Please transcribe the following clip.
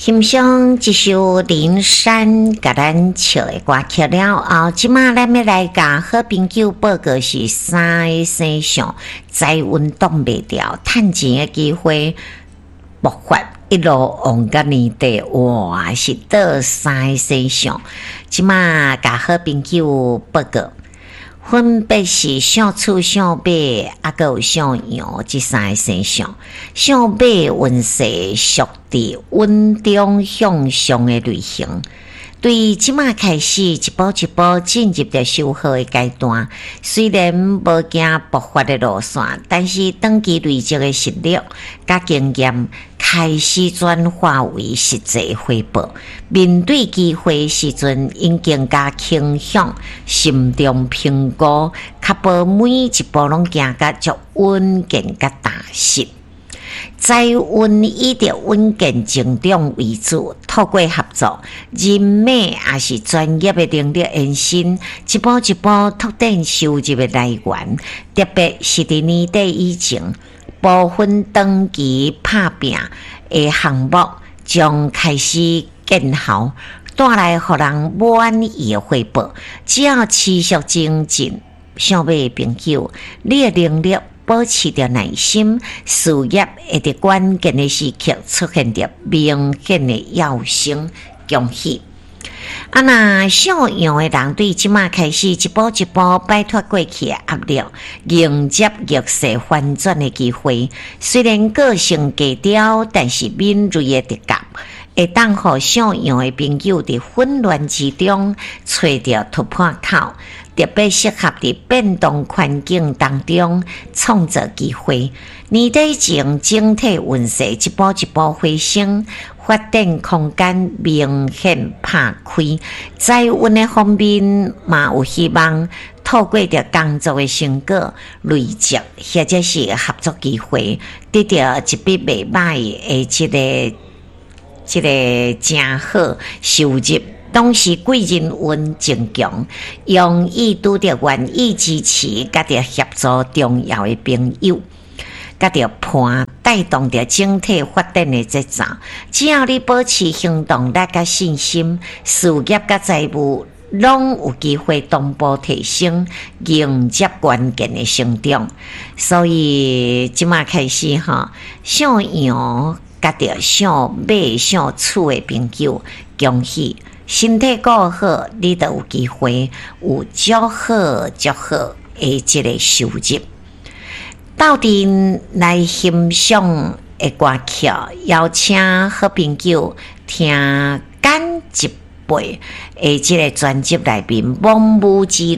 欣賞這首林珊共咱唱的歌曲了後，這馬咱欲來共好朋友報告是三个星象，財運擋袂牢，趁錢的機會爆發，一路旺到年底，哇！是佗三个星象，這馬共好朋友報告。分別是屬鼠、屬馬，猶閣有屬羊這三個星象。屬馬運勢屬佇穩中向上的類型，對這馬開始一步一步進入著收穫的階段。雖然無行爆發的路線，但是長期累積的實力佮經驗開始轉化為實際回報。面對機會時陣，𪜶更加傾向心中評估，確保每一步攏行甲足穩健佮踏實。財運以著穩健成長為主，透過合作、人脈抑是專業的能力延伸，一步一步拓展收入的來源。特別是佇年底以前，部分長期拍拚的項目將開始見效，帶來予人滿意的回報。只要持續精進，屬馬的朋友，你的能力保持著耐心，事業會佇關鍵的時刻出現著明顯的躍升，恭喜！啊，若屬羊的人對這馬開始一步一步擺脫過去的壓力，迎接逆勢翻轉的機會。雖然個性低調，但是敏銳的直覺會當予屬羊的朋友佇混亂之中揣著突破口。特別適合佇變動環境當中創造機會。年底前整體運勢一步一步回升，發展空間明顯拍開。財運的方面嘛有希望透過著工作的成果累積，或者是合作機會，得著一筆袂䆀的這個誠好收入。同時貴人運增強，容易拄著願意支持佮著協助重要的朋友，佮著伴帶動著整體發展的節奏。只要你保持行動力佮信心，事業佮財務攏有機會同步提升，迎接關鍵的成長。所以這馬開始吼，屬羊佮著屬馬、屬鼠的朋友，恭喜！身體顧好，你就有機會有足好足好的這個收入。鬥陣來欣賞的歌曲，邀請好朋友聽簡一輩的這個專輯內面《亡母之戀》。